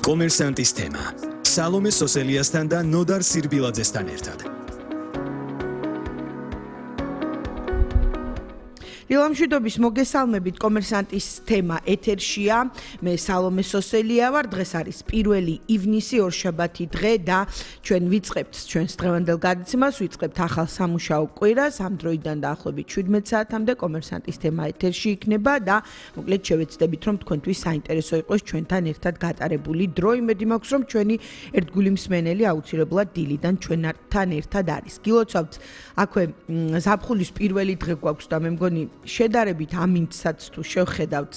კომერსანტის თემა. სალომე სოსელიასთან და ნოდარ სირბილაძესთან ერთად. ილამშვიდობის მოგესალმებით კომერსანტის თემა ეთერშია. მე სალომე სოსელია ვარ. დღეს არის 1 ივნისი ორშაბათი დღე და ჩვენ ვიწყებთ ჩვენს დღევანდელ გადაცემას, ვიწყებთ ახალ სამუშაო კვირას. ამ დროიდან დაახლოებით 17 საათამდე კომერსანტის თემა ეთერში იქნება და მოკლედ შევეცდებით რომ თქვენთვის საინტერესო იყოს ჩვენთან ერთად გატარებული დრო. იმედი მაქვს რომ ჩვენი ერთგული მსმენელი აუცილებლად დილიდან ჩვენთან ერთად არის. გილოცავთ აქვე ზაფხულის პირველი დღე გვაქვს და მე მგონი შედარებით ამინდსაც თუ შევხედავთ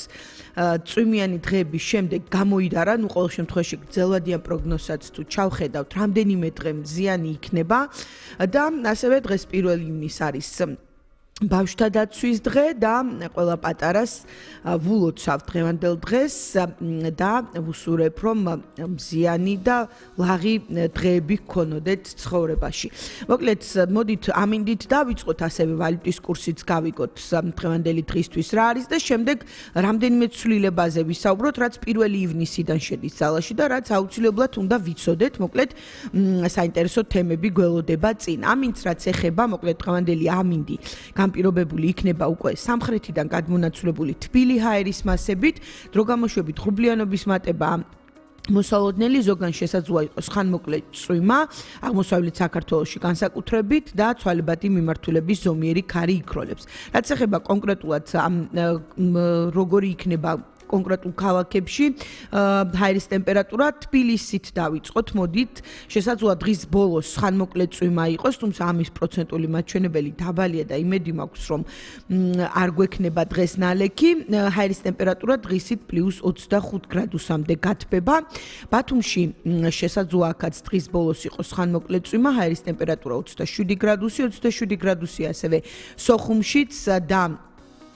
წვიმიანი დღეების შემდეგ გამოიდარა, ნუ ყოველ შემთხვევაში გრძელვადიან პროგნოზსაც თუ ჩავხედავთ, რამდენიმე დღე მზიანი იქნება და ასევე დღეს 1 ივნისი არის ბავშვთა დაცვის დღე და ყველა პატარას ვულოცავ დღევანდელ დღეს და ვუსურებ რომ მზიანი და ლაღი დღეები გქონოდეთ ცხოვრებაში. მოკლედ მოდით ამინდით დავიწყოთ, ასევე ვალუტის კურსიც გავიგოთ დღევანდელი დღისთვის რა არის და შემდეგ რამდენიმე ცვლილებაზე ვისაუბროთ, რაც 1 ივნისიდან შედის ძალაში და რაც აუცილებლად უნდა ვიცოდეთ. მოკლედ საინტერესო თემები გველოდება წინ. ამინდს რაც ეხება, მოკლედ დღევანდელი ამინდი განპირობებული იქნება უკვე სამხრეთიდან გადმონაცვლებული თბილი ჰაერის მასებით, დრო გამოშვებით ღრუბლიანობის მატება მოსალოდნელი, ზოგან შესაძლოა იყოს ხანმოკლე წვიმა აღმოსავლეთ საქართველოში განსაკუთრებით და ცვალებადი მიმართულების ზომიერი ქარი იქროლებს. რაც ეხება კონკრეტულად როგორი იქნება კონკრეტულ ქალაქებში ჰაერის ტემპერატურა, თბილისით დავიწყოთ, მოდით, შესაძლოა დღის ბოლოს ხანმოკლე წვიმა იყოს, თუმცა ამის პროცენტული მაჩვენებელი დაბალია და იმედი მაქვს რომ არ გვექნება დღეს ნალექი. ჰაერის ტემპერატურა დღისით +25 გრადუსამდე გათბება. ბათუმში შესაძლოა აქაც დღის ბოლოს იყოს ხანმოკლე წვიმა, ჰაერის ტემპერატურა 27 გრადუსი, 27 გრადუსი ასევე სოხუმშიც და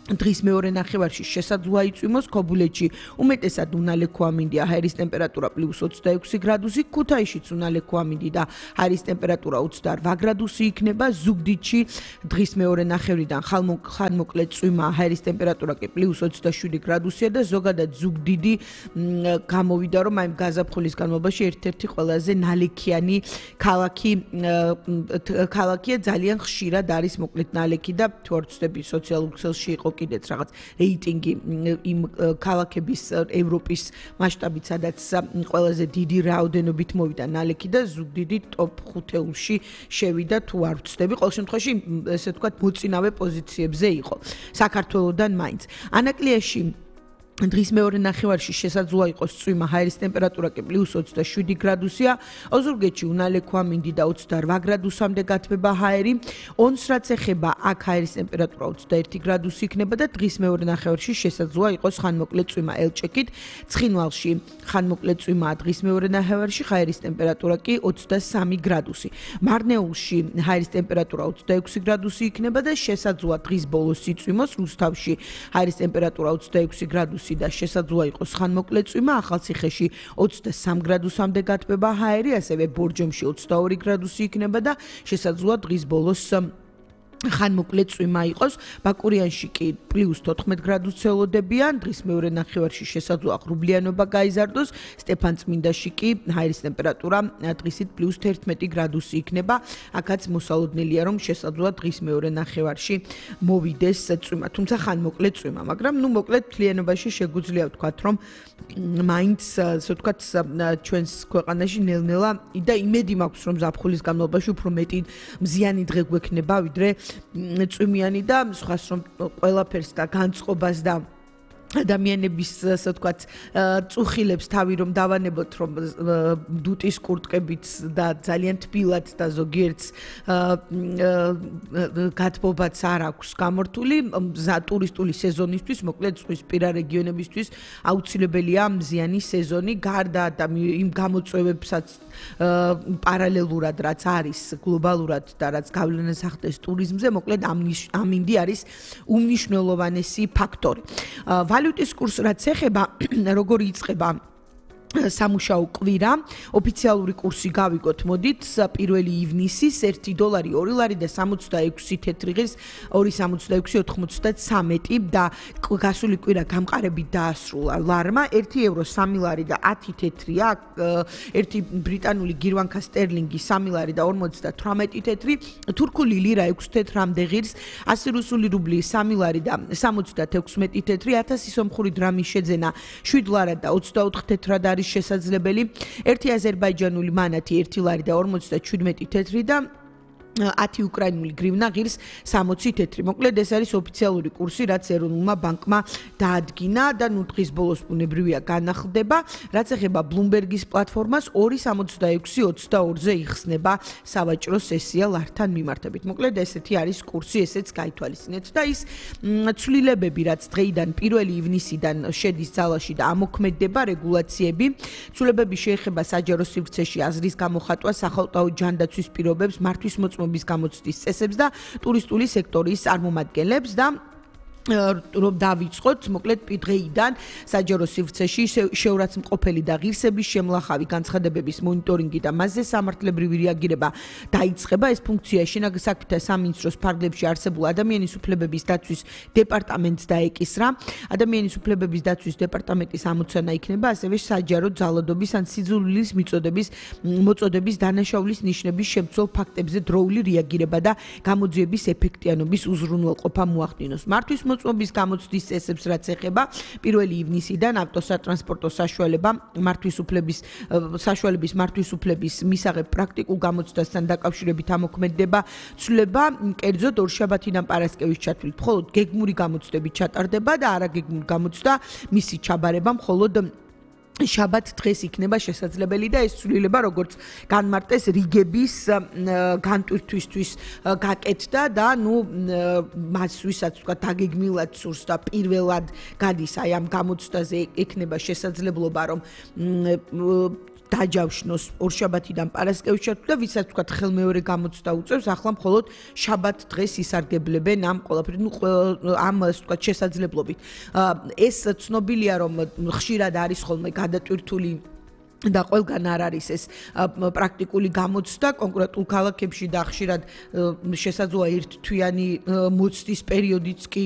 დღის მეორე ნახევარში შესაძლოა იწვიმოს ქობულეთში უმეტესად უნალექო ამინდია, ჰაერის ტემპერატურა +26 გრადუსი, ქუთაისშიც უნალექო ამინდი და ჰაერის ტემპერატურა 28 გრადუსი იქნება, ზუგდიდში დღის მეორე ნახევრიდან ხანმოკლე წვიმა, ჰაერის ტემპერატურა კი +27 გრადუსია და ზოგადად ზუგდიდი გამოვიდა რომ აი გაზაფხულის განმავლობაში ერთ-ერთი ყველაზე ნალექიანი ქალაქია, ძალიან ხშირად არის მოკლედ ნალექი და თუ არ ვცდები სოციალურ ქსელში იყო კიდეც რაღაც რეიტინგი იმ ქალაქების ევროპის მასშტაბით, სადაც ყველაზე დიდი რაოდენობით მოვიდა ნალექი და ზუგდიდი ტოპ 5-ში შევიდა, თუ არ ვცდები. ყოველ შემთხვევაში ესე ვთქვათ მოწინავე პოზიციებზე იყო საქართველოდან მაინც. ანაკლიაში დღის მეორე ნახევარში შესაძლოა იყოს წვიმა, ჰაერის ტემპერატურა კი +27 გრადუსია, ოზურგეთში უნალექო ამინდი და 28 გრადუსამდე გათბება ჰაერი. ონს რაც ეხება, აქ ჰაერის ტემპერატურა 21 გრადუსი იქნება და დღის მეორე ნახევარში შესაძლოა იყოს ხანმოკლე წვიმა ელჭეკით. ცხინვალში ხანმოკლე წვიმაა დღის მეორე ნახევარში, ჰაერის ტემპერატურა კი 23 გრადუსი. მარნეულში ჰაერის ტემპერატურა 26 გრადუსი იქნება და შესაძლოა დღის ბოლოს იწვიმოს. რუსთავში ჰაერის ტემპერატურა 26 გრადუსი და შესაძლოა იყოს ხანმოკლე წვიმა, ახალციხეში 23 გრადუსამდე გათბება ჰაერი, ასევე ბორჯომში 22 გრადუსი იქნება და შესაძლოა დღის ბოლოს ხანმოკლე წვიმა იყოს. ბაკურიანში კი +14 გრადუსს ელოდებიან, დღის მეორე ნახევარში შესაძლოა ღრუბლიანობა გაიზარდოს, სტეფანწმინდაში კი ჰაერის ტემპერატურა დღისით +11 გრადუსი იქნება. აქაც მოსალოდნელია რომ შესაძლოა დღის მეორე ნახევარში მოვიდეს წვიმა, თუმცა ხანმოკლე წვიმა, მაგრამ ნუ მოკლედ მთლიანობაში შეგვიძლია ვთქვათ რომ მაინც ასე ვთქვათ ჩვენს ქვეყანაში ნელ-ნელა და იმედი მაქვს რომ ზაფხულის განმავლობაში უფრო მეტი მზიანი დღე გვექნება ვიდრე წვიმიანი და სხვას რომ ყველაფერს და განწყობას და ადამიანების ასე ვთქვათ წუხილებს თავი რომ დავანებოთ რომ დუტის კურტკებით და ძალიან თბილად და ზოგიერთს გათბობაც არ აქვს გამორთული ტურისტული სეზონისთვის, მოკლედ ზღვისპირა რეგიონებისთვის აუცილებელია მზიანი სეზონი, გარდა და იმ გამოწვევებსაც პარალელურად რაც არის გლობალურად და რაც გავლენას ახდენს ტურიზმზე, მოკლედ ამინდი არის უმნიშვნელოვანესი ფაქტორი. ვალუტის კურს რაც ეხება, როგორი იწყება სამუშაო კვირა ოფიციალური კურსი გავიგოთ მოდით 1 ივნისის $1 2 ლარი და 66 თეთრი ღირს 2.66.93 და გასული კვირა გამყარებით დაასრულა ლარმა 1 ევრო 3 ლარი და 10 თეთრია 1 ბრიტანული გირვანქა სტერლინგი 3 ლარი და 58 თეთრი თურქული ლირა 6 თეთრამდე ღირს 100 რუსული რუბლი 3 ლარი და 76 თეთრი 1000 სომხური დრამის შეძენა 7 ლარა და 24 თეთრად არის შესაძლებელი 1 აზერბაიჯანული მანათი 1 ლარი და 57 თეთრი და 10 უკრაინული გრივნა ღირს 60 თეთრი. მოკლედ ეს არის ოფიციალური კურსი, რაც ეროვნულმა ბანკმა დაადგინა და ნუ დღის ბოლოს ბუნებრივია განახლდება. რაც ეხება Bloomberg-ის პლატფორმას 2.66.22-ზე იხსნება სავაჭრო სესია ლართან მიმართებით. მოკლედ ესეთი არის კურსი, ესეც გაითვალისწინეთ და ის ცვლილებები, რაც დღეიდან 1 ივნისიდან შედის ძალაში და ამოქმედება რეგულაციები, ცვლილებები შეეხება საჯარო სივრცეში აზრის გამოხატვა, სახელმწიფო ჯანდაცვის პირობებს, მართვის მოწმობის გამოცდის წესებს და ტურისტული სექტორის წარმომადგენლებს და რომ დავიწყოთ, მოკლედ დღეიდან საჯარო სივრცეში შეურაცხმყოფელი და ღირსების შემლახავი განცხადებების მონიტორინგი და მასზე სამართლებრივი რეაგირება დაიწყება. ეს ფუნქცია შინაგან საქმეთა სამინისტროს ფარგლებში არსებულ ადამიანის უფლებების დაცვის დეპარტამენტს დაეკისრა. ადამიანის უფლებების დაცვის დეპარტამენტის ამოცანა იქნება ასევე საჯარო ძალადობის ან სიძულვილის მოწოდების დანაშაულის ნიშნების შემცველ ფაქტებზე დროული რეაგირება და გამოძიების ეფექტიანობის უზრუნველყოფა მოახდინოს. მართვის მოწმობის გამოცდის წესებს რაც ეხება 1 ივნისიდან ავტოსატრანსპორტო საშუალების მართვის უფლების მისაღებ პრაქტიკულ გამოცდასთან დაკავშირებით ამოქმედება ცვლილება კერძოდ ორშაბათიდან პარასკევის ჩათვლით მხოლოდ გეგმური გამოცდები ჩატარდება და არაგეგმური გამოცდა მისი ჩაბარება მხოლოდ შაბათ დღეს იქნება შესაძლებელი და ეს ცვლილება როგორც განმარტეს რიგების განტვირთვისთვის გაკეთდა და ნუ მას ვისაც თქვა დაგეგმილად სურს და პირველად გადის აი ამ გამოცდაზე ექნება შესაძლებლობა რომ დაჯავშნოს ორშაბათიდან პარასკევის ჩათვლით და ვისაც თქვა ხელმეორე გამოცდა უწევს ახლა მხოლოდ შაბათ დღეს ისარგებლებენ ამ ყველაფერით ამ თქვა შესაძლებლობით ეს ცნობილია რომ ხშირად არის ხოლმე გადატვირთული და ყველგან არ არის ეს პრაქტიკული გამოცდა კონკრეტულ ქალაქებში და ხშირად შესაძლოა ერთთვიანი მოცდის პერიოდიც კი